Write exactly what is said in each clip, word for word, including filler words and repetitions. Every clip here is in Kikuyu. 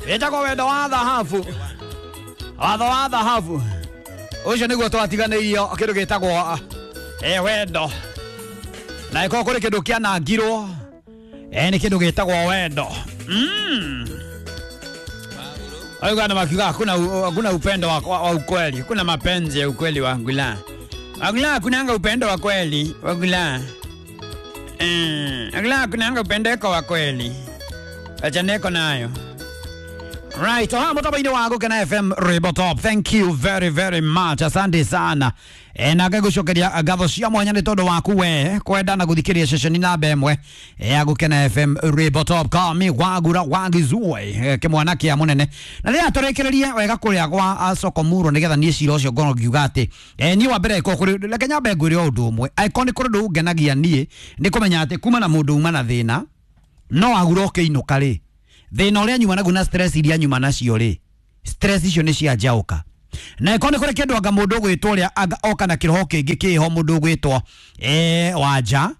Wĩtagwo wendo wa thahabu. Watho wa thahabu. Ũcio nĩguo twatiganĩirio kĩndũ gĩtagwo eh wendo. Na ĩkorwo kũrĩ kĩndũ kĩanangirwo eh nĩ kĩndũ gĩtagwo wendo. Mm. Ayo makiuga hakuna hakuna upendo wa, wa, wa ukweli. Kuna mapenzi ya ukweli wangula. Wangula kunanga upendo wa kweli wangula. Eh, wangula kunanga upendeko wa kweli. Acha neko nayo. Right, oh, mutambo-inĩ wa Gũkena F M Rwĩmbo Top. Thank you very very much. Asante sana. E, na ngagũcokeria ngatho cia mwanya nĩ tondũ waku we kwenda na gũthikĩrĩria ceceni namba ĩmwe ya Gũkena F M Rwĩmbo Top. Kami wagura wagizue e, kĩmwana kĩa mũnene. Na rĩrĩa tũrĩkĩrĩrie wega kũrĩa gwa Sokomuro nĩgetha niĩ cira ũcio ngorwo ngiuga atĩ e, niĩ wa mbere ĩkorwo reke nyambe ngwĩre o ũndũ ũmwe. Angĩkorwo nĩ kũrĩ ũndũ ũngenagia niĩ nĩ kũmenya atĩ kuma na mũndũ uma na thĩna no agura ũkĩinũka rĩ thĩna ũrĩa nyuma naguo na stress iria nyuma nacio rĩ stress icio nĩ cia njaũka. Na ĩkorwo nĩ kũrĩ kĩndũ anga mũndũ ũgwĩtwo ũrĩa anga oka na kĩroho kĩngĩ kĩho mũndũ ũgwĩtwo eh Wanja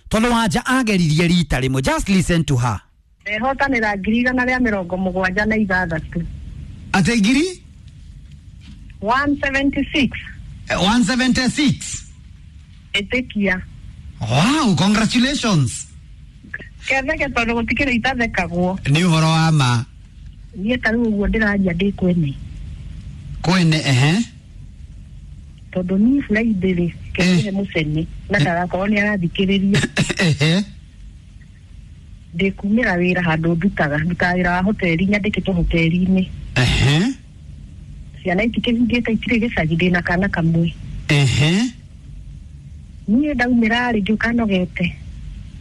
tondũ Wanja ageririe rita rĩmwe. Just listen to her. Ndehotanĩra ngiri igana rĩa mĩrongo mũgwanja na ithathatũ. Atĩ ngiri one seventy-six. one seventy-six. Ĩtĩkia. Wow, congratulations. Ketheke tondũ gũtikĩrĩ itathekagwo. Nĩ ũhoro wa ma. Niĩ ta rĩu ũguo ndĩraria ndĩ kwene. Kwene ehe. Tondũ niĩ Friday rĩ kĩhe mũcene na ndagakorwo nĩ arathikĩrĩria. Ehe. Ndĩkumĩra wĩra handũ ndutaga ndutaga wĩra wa hoteli nyandĩkĩtwo hoteli-inĩ. Ehe. Ciana itikĩhingĩte itirĩ gĩcagi ndĩna kana kamwe. Ehe. Niĩ ndaumĩra rĩ ngĩũka nogete.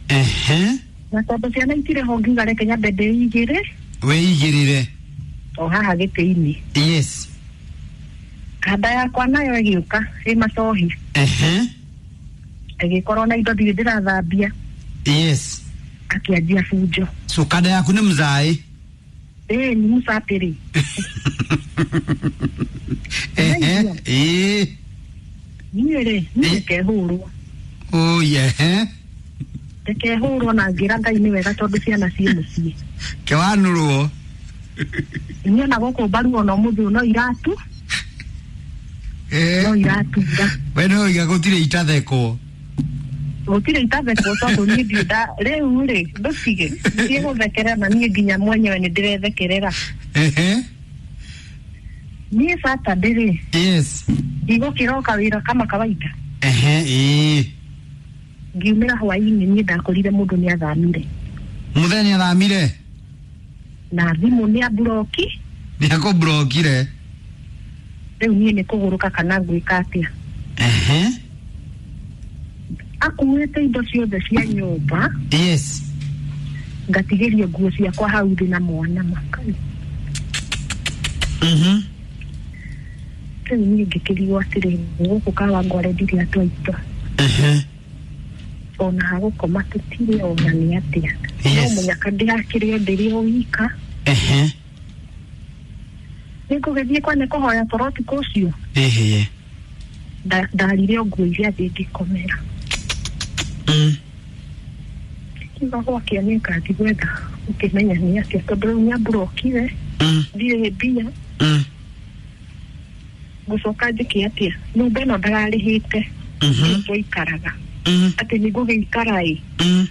Ehe. Na tondũ ciana itirĩ ho ngiuga reke nyambe ndĩigĩre. Wĩigĩrĩre. O haha gĩtĩ-inĩ. Yes. Kanda yakwa nayo ĩgĩũka ĩ macohi. Ehe. Ĩgĩkorwo na indo ndirĩ ndĩrathambia. Yes. Akĩanjia bunjo. So kanda yaku nĩ mzaĩ? Ĩĩ nĩ mũcapĩrĩ. Ehe. Ĩĩ. Niĩ rĩ niĩ ndĩkehũrwo. Oh yeah. Ndĩkehũrwo na ngĩra Ngai nĩ wega tondũ ciana ciĩ mũciĩ. Kĩwanũrwo. Niĩ ona gũkũ mbaru ona ũmũthĩ ũyũ no iratu. Eh. No iratura. We no iga gũtirĩ itathekwo. Gũtirĩ itathekwo tondũ niĩ ndirĩ nda rĩu rĩ ndũtige ndiĩ gũthekerera na niĩ nginya mwenyewe nĩ ndĩrethekerera. Ehe. Niĩ Saturday rĩ. Yes. Ndigũkĩroka wĩra kama kawaida. Ehe ĩĩ. Ngiumĩra hwaĩ-inĩ niĩ ndakorire mũndũ nĩ athamire. Mũthenya nĩ athamire? Na thimũ nĩ amburoki. Nĩ akũmburokire. Rĩu niĩ nĩ kũgũrũka kana ngwĩka atĩa. Ehe. Akuĩte indo ciothe cia nyũmba. Yes. Ngatigĩrio nguo ciakwa hau thĩ na mwana makai. Mhm. Rĩu niĩ ngĩkĩrigwo atĩrĩ gũkũ Kawangware ndirĩ andũ aitũ. Ehe. Ona hagũkoma tũtirĩ ona nĩ atĩa. Yes. No mũnyaka ndĩrakĩrĩo ndĩrĩ o wika. Ehe. Nĩngũgĩthiĩ kwa nĩ kũhoya toro ũtukũ ũcio. Ehe. Ndarire o nguo iria thĩ ngĩkomera. Mm. Kiuga gwakĩa nĩ ngathiĩ gwetha ũkĩmenya nĩ atĩa tondũ rĩu nĩamburokire. Mm. Ndirĩ mbia. Mm. Ngũcoka njĩke atĩa nyũmba ĩno ndararĩhĩte. Mhm. Twaikaraga. Mm. Atĩ nĩngũgĩikara ĩ. Mm.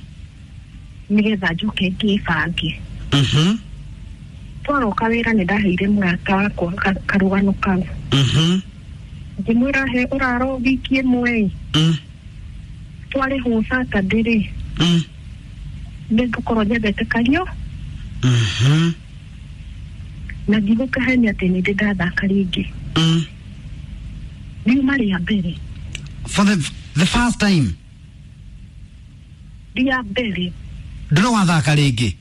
Nĩgetha njoke ngĩbange. Mhm. Twaroka wĩra nĩ ndaheire mũrata wakwa karũgano kau. Mhm. Ngĩmwĩra he ũraro wiki ĩmwe ĩ. Mm. Twarĩhwo Saturday rĩ. Mm. Nĩngũkorwo nyendete kario. Mhm. Na ndigũkahenia atĩ nĩ ndĩ ndathaka rĩngĩ. Mm. Riuma rĩa mbere. For the the first time. Rĩa mbere. Ndũrĩ wathaka rĩngĩ?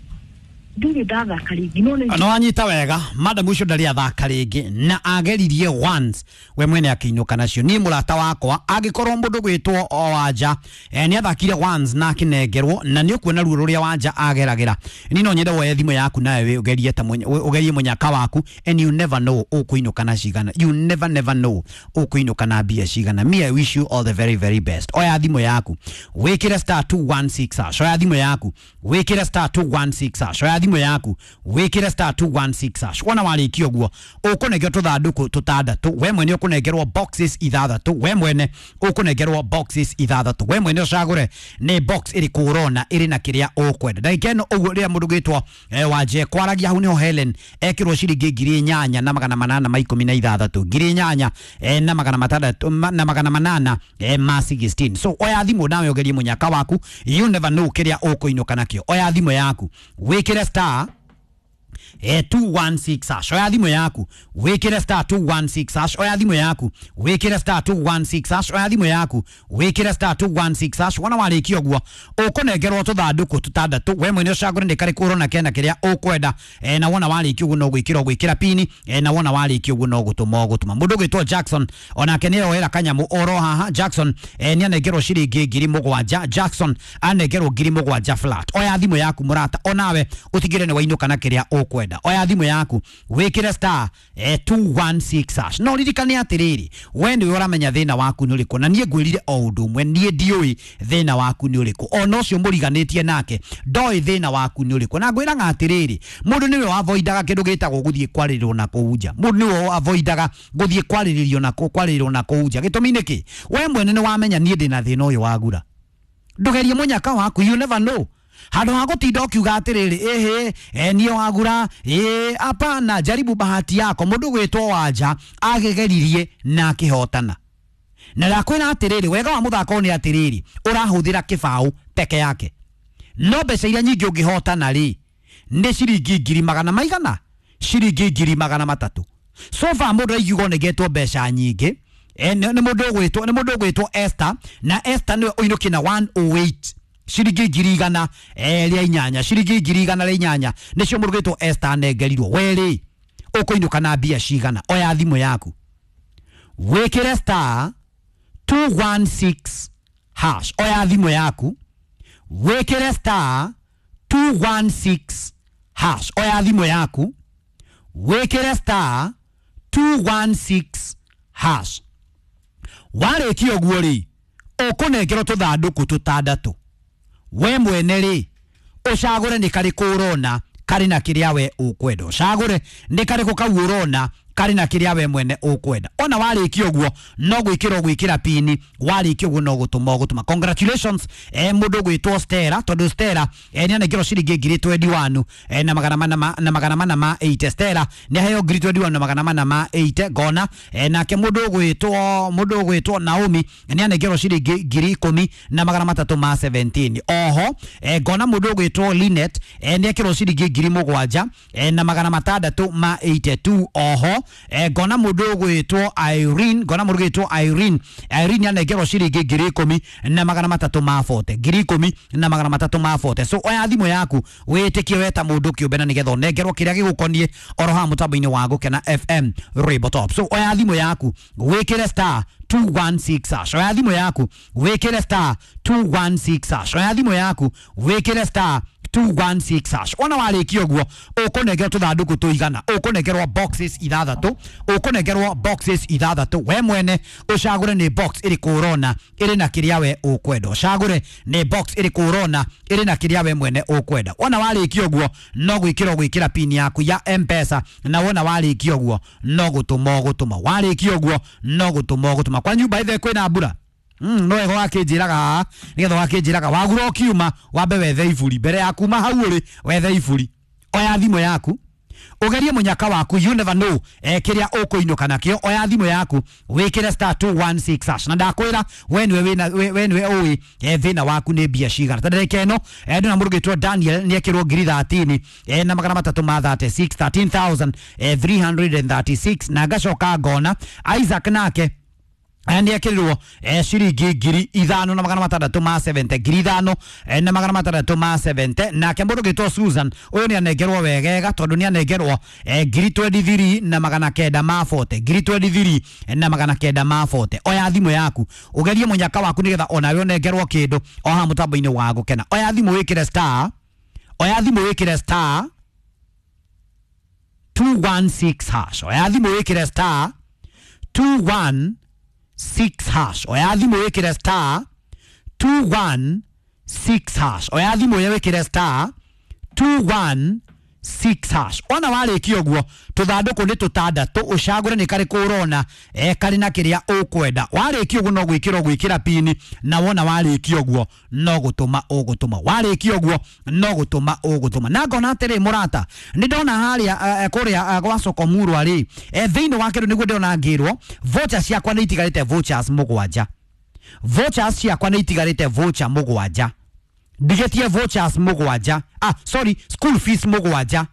Ndirĩ ndathaka rĩngĩ no nĩ No wanyita wega madam ũcio ndarĩ athaka rĩngĩ na ageririe once we mwene akĩinũka nacio. Niĩ mũrata wakwa angĩkorwo mũndũ gwĩtwo o Wanja eh, nĩ athakire once na akĩnengerwo na nĩ ũkuona ruo rũrĩa Wanja ageragĩra. Niĩ no nyende woye thimũ yaku nawe ũgerie ta ũgerie mũnyaka waku and you never know ũkũinũka na cigana. You never never know ũkũinũka na mbia cigana. Me I wish you all the very very best. Oya thimũ yaku wĩkĩre star two one six hash. Oya thimũ yaku wĩkĩre star two one six hash. Oya thimũ yaku wĩkĩre star two one six hash. Wona warĩkia ũguo ũkũnengerwo tũthandũkũ tũtandatũ, we mwene ũkũnengerwo boxes ithathatũ, we mwene ũkũnengerwo boxes ithathatũ, we mwene ũcagũre nĩ box ĩrĩkũ ũrona ĩrĩ na kĩrĩa ũkwenda. Ndagĩka ĩno ũguo rĩrĩa mũndũ gwĩtwo eh, Wanje kwaragia hau nĩho Helen ekĩrwo ciringi ngiri inyanya na magana manana ma ikũmi na ithathatũ, ngiri inyanya eh, na magana matandatũ ma- na magana manana eh, ma sixteen. So oya thimũ nawe ũgerie mũnyaka waku, you never know kĩrĩa ũkũinũka nakĩo. Oya thimũ yaku wĩkĩre star eh, two one six hash. Oya thimũ yaku wĩkĩre star two one six hash. Oya thimũ yaku wĩkĩre star two one six hash. Oya thimũ yaku wĩkĩre star two one six hash. Wona warĩkia ũguo ũkũnengerwo tũthandũkũ tũtandatũ, we mwene ũcagũre nĩ karĩkũ ũrona kena kĩrĩa ũkwenda eh, na wona warĩkia ũguo no gwĩkĩra ũgwĩkĩra pini eh, na wona warĩkia ũguo no gũtũma ũgũtũma. Mũndũ ũgwĩtwo Jackson onake nĩ oera kanyamũ oro haha. Jackson eh, nĩ anengerwo ciringi ngiri mũgwanja. Jackson anengerwo ngiri mũgwanja flat. Oya thimũ yaku mũrata, onawe ũtigĩre nĩ wainũka na kĩrĩa ũkwenda. Oya thimũ yaku wĩkĩre star eh, two one six hash. No ririkane atĩrĩrĩ, we nĩwe ũramenya thĩna waku nĩ ũrĩkũ, na niĩ ngwĩrire o ũndũ ũmwe, niĩ ndiũĩ thĩna waku nĩ ũrĩkũ, ona ũcio mũriganĩtie nake ndoĩ thĩna waku nĩ ũrĩkũ. Na ngwĩraga atĩrĩrĩ, mũndũ nĩwe wavoidaga kĩndũ gĩtagwo gũthiĩ kwarĩrĩrwo na kũu nja. Mũndũ nĩwe avoidaga gũthiĩ kwarĩrĩrio na kũ- kwarĩrĩrwo na kũu nja. Gĩtũmi nĩ kĩ? We mwene nĩ wamenya niĩ ndĩna thĩna ũyũ wagura, ndũgerie mũnyaka waku, you never know. Handũ ha gũtinda ũkiuga atĩrĩrĩ, ĩhĩ eh, niĩ wagura, ĩ hapana, jaribu bahati yako. Mũndũ gwĩtwo Wanja agĩgeririe na akĩhotana. Na ndakwĩra atĩrĩrĩ, wega wa mũthako nĩ atĩrĩrĩ, ũrahũthĩra kĩbaũ peke yake, no mbeca iria nyingĩ ũngĩhotana rĩ nĩ ciringi ngiri magana maigana, ciringi ngiri magana matatũ. So far mũndũ aingiuga onengetwo mbeca nyingĩ eh, nĩ nĩ mũndũ ũgwĩtwo nĩ mũndũ ũgwĩtwo Esther, na Esther nĩwe ũinũkie na one oh eight ciringi ngiri igana eh, rĩa inyanya, ciringi ngiri igana rĩa inyanya nĩcio mũndũ ũgwĩtwo Esther anengerirwo. We rĩ ũkũinũka na mbia cigana? Oya thimũ yaku wĩkĩre star two one six hash. Oya thimũ yaku wĩkĩre star two one six hash. Oya thimũ yaku wĩkĩre star two one six hash. Warĩkia ũguo rĩ ũkũnengerwo tũthandũkũ tũtandatũ, we mwene rĩ ũcagũre nĩ karĩkũ ũrona karĩ na kĩrĩa we ũkwenda, ũcagũre nĩ karĩkũ kau ũrona karĩ na kĩrĩa we mwene ũkwenda. Ona warĩkia ũguo no gwĩkĩra ũgwĩkĩra pini, warĩkia ũguo no gũtũma ũgũtũma. Congratulations eh, mũndũ ũgwĩtwo Stella, tondũ Stella eh, nĩ anengerwo ciringi ngiri twenty one eh, na magana mana ma, na magana mana ma eight. Stella nĩ aheo ngiri twenty one na magana mana ma eight ngona eh, nake mũndũ ũgwĩtwo mũndũ ũgwĩtwo Naomi nĩ anengerwo ciringi ngiri ikũmi na magana matatũ ma seventeen. Oho eh, ngona mũndũ ũgwĩtwo Linet eh, nĩ ekĩrwo ciringi ngiri mũgwanja eh, na magana matandatũ ma eighty two. Oho eh, ngona mũndũ ũgwĩtwo Irene, ngona mũndũ ũgwĩtwo Irene, Irene anengerwo ciringi ngiri ikũmi na magana matatũ ma forty, ngiri ikũmi na magana matatũ ma forty. So oya thimũ yaku wĩtĩkie we ta mũndũ kĩũmbe na nĩgetha ũnengerwo kĩrĩa gĩgũkoniĩ oro haha mũtambo-inĩ wa Gũkena F M Rainbow Top. So oya thimũ yaku wĩkĩre star two one six hash. Oya thimũ yaku wĩkĩre star two one six hash. Oya thimũ yaku wĩkĩre star two one six hash. Ona warĩkia ũguo ũkũnengerwo tũthandũkũ tũigana, ũkũnengerwo boxes ithathatũ, ũkũnengerwo boxes ithathatũ, we mwene ũcagũre nĩ box ĩrĩkũ ũrona ĩrĩ na kĩrĩa we ũkwenda, ũcagũre nĩ box ĩrĩkũ ũrona ĩrĩ na kĩrĩa we mwene ũkwenda. Ona warĩkia ũguo no gwĩkĩra ũgwĩkĩra pin yaku ya M-Pesa, na wona warĩkia ũguo no gũtũma ũgũtũma, warĩkia ũguo no gũtũma ũgũtũma. Kwa nyumba ithe kwĩna mbura? Mm, no wega wakĩnjĩraga haha nĩgetha wakĩnjĩraga wagura ũkiuma wambe wethe iburi mbere ya kuma hau ũrĩ, wethe iburi. Oya thimũ yaku ũgerie mũnyaka waku, you never know eh, kĩrĩa ũkũinũka nakĩo. Oya thimũ yaku wĩkĩre star two one six hash, na ndakwĩra we nĩwe wĩna we we nĩwe ũĩ eh, thĩna waku nĩ mbia cigana. Ta ndagĩka ĩno eh, ndĩna mũndũ ũgwĩtwo Daniel nĩ ekĩrwo ngiri thirteen eh, na magana matatũ ma thirty six, thirteen thousand three hundred and thirty six, na ngacoka ngona Isaac nake nĩ ekĩrirwo eh, ciringi ngiri ithano na magana matandatũ ma seventy, ngiri ithano eh, na magana matandatũ ma seventy. Nake mũndũ ũgwĩtwo Susan ũyũ nĩ anengerwo wegega tondũ nĩ anengerwo eh, ngiri twenty three na magana kenda ma forty, ngiri twenty three na magana kenda ma forty. Oya thimũ yaku ũgerie mũnyaka waku nĩgetha onawe ũnengerwo kĩndũ o haha mũtambo-inĩ wa Gũkena. Oya thimũ wĩkĩre star, oya thimũ wĩkĩre star two one six hash. Oya thimũ wĩkĩre star two one six hash. Oya thimũ wĩkĩre star two one six hash. Oya thimũ wĩkĩre star two one six hash. Ona warĩkia ũguo tũthandũkũ nĩ tũtandatũ, ũcagũre nĩ karĩkũ ũrona e karĩ na kĩrĩa ũkwenda. Warĩkia ũguo no gwĩkĩra ũgwĩkĩra pini, na wona warĩkia ũguo no gũtũma ũgũtũma. Warĩkia ũguo no gũtũma ũgũtũma. Na ngona atĩrĩ mũrata, nĩ ndona harĩa eh, kũrĩa eh, gwa soko murwa rĩ, eh, thĩinĩ wa kĩndũ nĩguo ndĩrona ngĩrwo vouchers ciakwa nĩ itigarĩte vouchers mũgwanja. Vouchers ciakwa nĩ itigarĩte voucher mũgwanja. Ndigetie vouchers mũgwanja, ah sorry, school fees mũgwanja.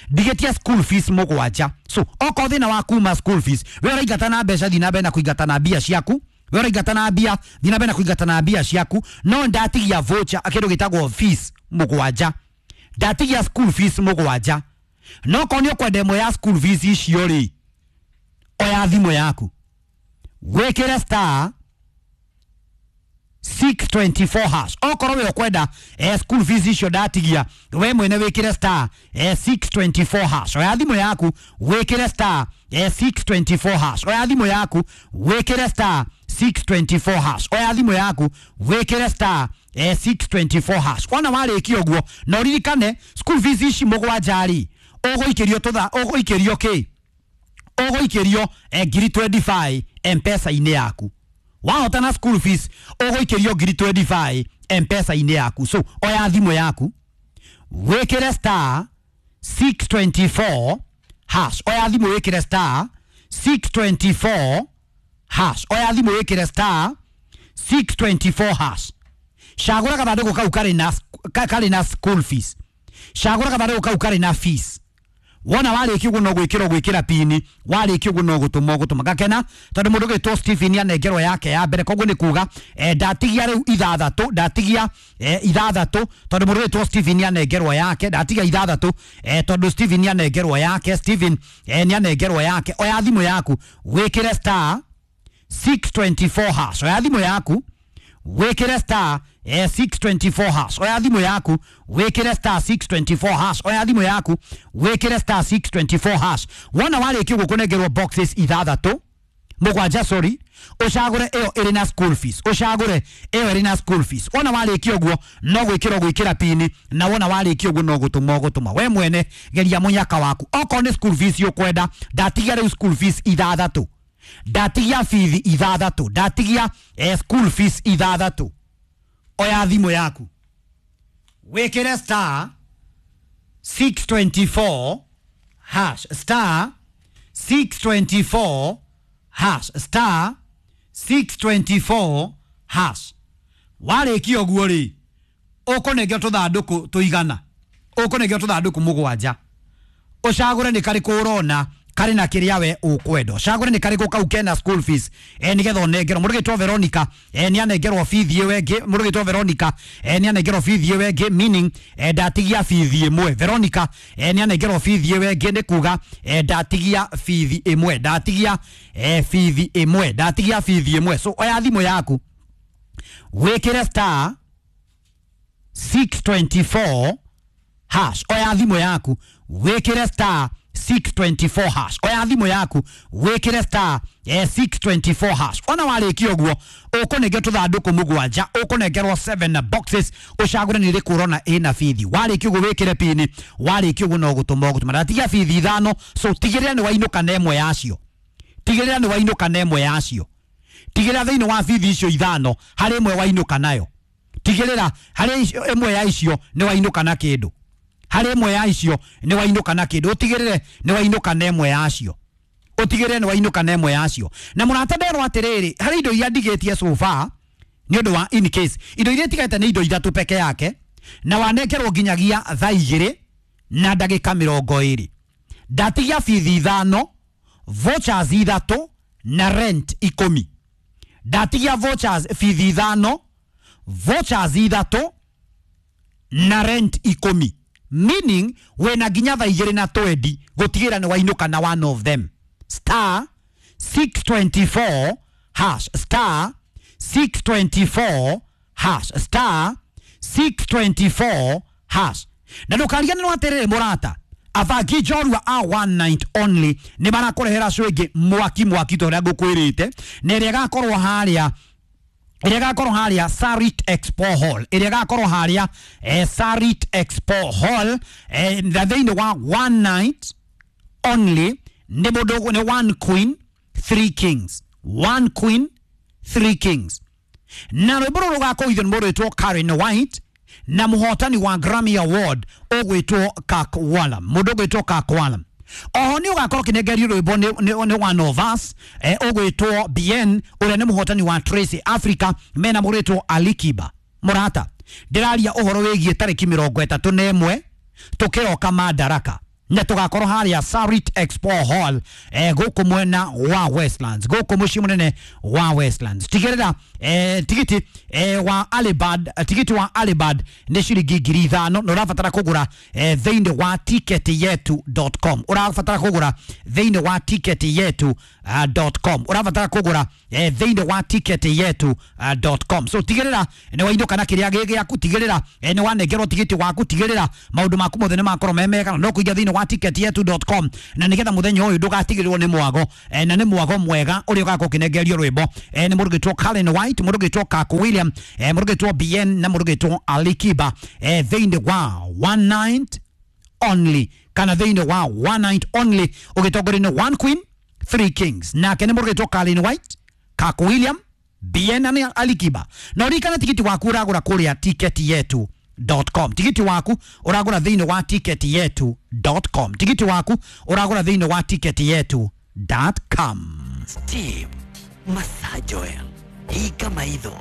Ndigetie school fees mũgwanja. So okorwo thĩna wa kuma school fees, we ũraingata na mbeca, thiĩ na mbere na kũingata na mbia ciaku. We ũraingata na mbia, thiĩ na mbere na kũingata na mbia ciaku. No ndatigia voucher kĩndũ gĩtagwo fees mũgwanja, ndatigia school fees mũgwanja. No korwo nĩ ũkwenda ĩmwe ya school fees icio rĩ, oya thimũ yaku wĩkĩre star six twenty-four hash. Okorwo we ukwenda eh, school fees icio ndatigia, we mwene wikire star eh, six twenty-four hash. Oya thimu yaku wikire star eh, six twenty-four hash. Oya thimu yaku wikire star six twenty-four hash. Oya thimu yaku wikire star eh, six twenty-four hash. Wona warĩkia ũguo na ũririkane school fees ici mũgwanja rĩ, ũgũikĩrio tũtha ũgũikĩrio kĩ ũgũikĩrio eh, ngiri twenty-five M-Pesa-inĩ yaku. Wahota na school fees ũgũikĩrio ngiri twenty-five M-Pesa-inĩ yaku. So oya thimũ yaku wĩkĩre star six twenty-four hash. Oya thimũ wĩkĩre star six twenty-four hash. Oya thimũ wĩkĩre star six twenty-four hash. Cagũra gathandũkũ kau karĩ na karĩ na school fees. Cagũra gathandũkũ kau karĩ na fees. Wona warĩkia ũguo no gwĩkĩra gwĩkĩra pini, warĩkia ũguo no gũtũma ũgũtũma. Gakena tondũ mũndũ ũgĩtwo Stephen anengerwo yake ya mbere, koguo nĩ kuga eh, ndatigia rĩu ithathatũ, ndatigia eh, ithathatũ tondũ mũndũ ũgĩtwo Stephen anengerwo yake, ndatigia ithathatũ eh, tondũ Stephen anengerwo yake, Stephen eh, nĩ anengerwo yake. Oya thimũ yaku wĩkĩre star six twenty-four hash. Oya thimũ yaku wĩkĩre star eh, six twenty-four hash. Oya thimũ yaku wĩkĩre star six twenty-four hash. Oya thimũ yaku wĩkĩre star six twenty-four hash. Wona warĩkia ũguo kũnengerwo boxes ithathatũ mũgwanja, sorry, ũcagũre ĩyo ĩrĩ na school fees, ũcagũre ĩyo ĩrĩ na school fees. Wona warĩkia ũguo no gwĩkĩra gwĩkĩra pini, na wona warĩkia ũguo no gũtũma ũgũtũma. We mwene geria mũnyaka waku. Okorwo nĩ school fees ũkwenda, ndatigia rĩu school fees ithathatũ, ndatigia bithi ithathatũ, ndatigia eh, school fees ithathatũ. Oya thimũ yaku wĩkĩre star six twenty-four hash, star six twenty-four hash, star six twenty-four hash. Warĩkia ũguo rĩ, ũkũnengera tũthandũkũ tũigana, ũkũnengera tũthandũkũ mũgwanja. Ũcagũre nĩ karĩkũ ũrona karĩ na kĩrĩa we ũkwenda. Ũcagũre nĩ karĩkũ kau kena school fees eh, nĩgetha ũnengerwo. Mũndũ ũgĩtwo Veronica eh, nĩ anengerwo bithi ĩyo ĩngĩ. Mũndũ ũgĩtwo Veronica eh, nĩ anengerwo bithi ĩyo ĩngĩ, meaning eh, ndatigia bithi ĩmwe. Veronica eh, nĩ anengerwo bithi ĩyo ĩngĩ, nĩ kuga eh, ndatigia bithi ĩmwe, ndatigia eh, bithi ĩmwe, ndatigia bithi ĩmwe. So oya thimũ yaku wĩkĩre star six twenty-four hash. Oya thimũ yaku wĩkĩre star six twenty-four hash. Oya thimũ yaku wĩkĩre star eh, six twenty-four hash. Ona warĩkia ũguo ũkũnengerwo tũthandũkũ mũgwanja, ũkũnengerwo seven boxes, ũcagũre nĩ ĩrĩkũ ũrona ĩna bithi. Warĩkia ũguo wĩkĩre pini, warĩkia ũguo no gũtũma ũgũtũma. Ndatigia bithi ithano, so tigĩrĩra nĩ wainũka na ĩmwe yacio, tigĩrĩra nĩ wainũka na ĩmwe yacio, tigĩrĩra thĩinĩ wa bithi icio ithano harĩ ĩmwe wainũka nayo, tigĩrĩra harĩ ĩmwe ya icio nĩ wainũka na kĩndũ, harĩ ĩmwe ya icio nĩ wainũka na kĩndũ, ũtigĩrĩre nĩ wainũka na ĩmwe yacio, ũtigĩrĩre nĩ wainũka na ĩmwe yacio. Na mũrata nderwo atĩrĩrĩ, harĩ indo iria ndigĩtie so far nĩ ũndũ wa in case, indo iria itigarĩte nĩ indo ithatũ peke yake, na wanengerwo nginyagia thaa igĩrĩ na ndagĩka mĩrongo ĩrĩ. Ndatigia bithi ithano, vouchers ithatũ na rent ikũmi. Ndatigia vouchers bithi ithano, vouchers ithatũ na rent ikũmi, meaning wena nginya thaa igĩrĩ na twendi gũtigĩrĩra nĩ wainũka na one of them. Star six twenty-four hash, star six twenty-four hash, star six twenty-four hash. Na ndũkariganĩrwo atĩrĩrĩ mũrata, athaki njorua a one night only nĩ marakũrehera show ĩngĩ mwaki mwaki ta ũrĩa ngũkwĩrĩte, na ĩrĩa ĩgakorwo harĩa Ĩrĩa ĩgakorwo harĩa Sarit Expo Hall, ĩrĩa ĩgakorwo harĩa eh, Sarit Expo Hall, eh, na thĩinĩ wa one night only nĩ mũndũ nĩ one queen three kings, one queen three kings. Na rwĩmbo rũrũ rũgakũithio nĩ mũndũ wĩtwo Karen White na mũhotani wa Grammy Award ũgwĩtwo Kirk Whalum, mũndũ ũgwĩtwo Kirk Whalum. Oho nĩ ũgakorwo ũkĩnengerio rwĩmbo nĩ- nĩ nĩ one of us, eh, ũgwĩtwo Bien ũrĩa nĩ mũhotani wa Tracy Africa mena mũrĩtwo Alikiba. Mũrata, ndĩraria ũhoro wĩgiĩ tarĩki mĩrongo ĩtatũ na ĩmwe tũkĩroka Madaraka na tũgakorwo harĩa Sarit Expo Hall, eh, gũkũ mwena wa Westlands, gũkũ mũciĩ mũnene wa Westlands. Tigĩrĩra eh, tigiti eh, wa Alibad, eh, tigiti wa Alibad nĩ ciringi ngiri ithano na ũrabatara kũgũra eh, thĩinĩ wa ticket yetu dot com. Ũrabatara kũgũra thĩinĩ wa ticket yetu uh, dot com. Ũrabatara kũgũra eh, thĩinĩ wa ticket yetu uh, dot com. So tigĩrĩra nĩ wainũka na kĩrĩa gĩ gĩaku, tigĩrĩra eh, nĩ wanengerwo tigiti waku, tigĩrĩra maũndũ maku mothe nĩ makorwo me mega, na no kũingĩra thĩinĩ wa ticket yetu dot com na nĩgetha mũthenya ũyũ ndũgatigĩrĩrwo nĩ mwago, eh, na nĩ mwago mwega ũrĩa ũgakorwo ũkĩnengerio rwĩmbo eh, nĩ mũndũ ũgwĩtwo Karen White, mũndũ ũgwĩtwo Kirk William, eh, mũndũ ũgwĩtwo Bien na mũndũ ũgwĩtwo Alikiba, eh, thĩinĩ wa one night only kana thĩinĩ wa one night only ũgĩtongorio nĩ one queen three kings, nake nĩ mũndũ ũgwĩtwo Karen White, Kirk William, Bien na Alikiba. Na ũririkane tigiti waku ũragũra kũrĩa ticket yetu dot com. Tigiti waku ũragũra thĩinĩ wa ticket yetu dot com. Tigiti waku ũragũra thĩinĩ wa ticket yetu dot com. Steam Massage Oil, hinga maitho,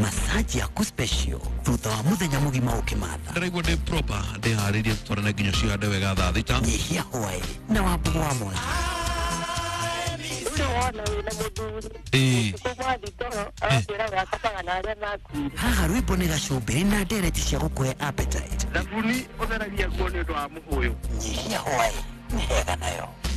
massage yaku special thutha wa muthenya mugima ukimatha. Ndĩraigua ndĩ proper, ndĩharĩirie tũtwarane nginya cihande wega thaa thita. Nyihia hwaĩ na wambugu wa mwangi. Rĩu wona wĩna mũthuri Ĩĩ. ũtukũ mwathi toro arakwĩra ũrakomaga na arĩa makuire. Haha rwĩmbo nĩ gacumbĩrĩ na ndereti cia gũkũhe appetite. Thabuni ũtheragia nguo nĩ ũndũ wa mũhũyũ. Nyihia hwaĩ nĩ hega nayo.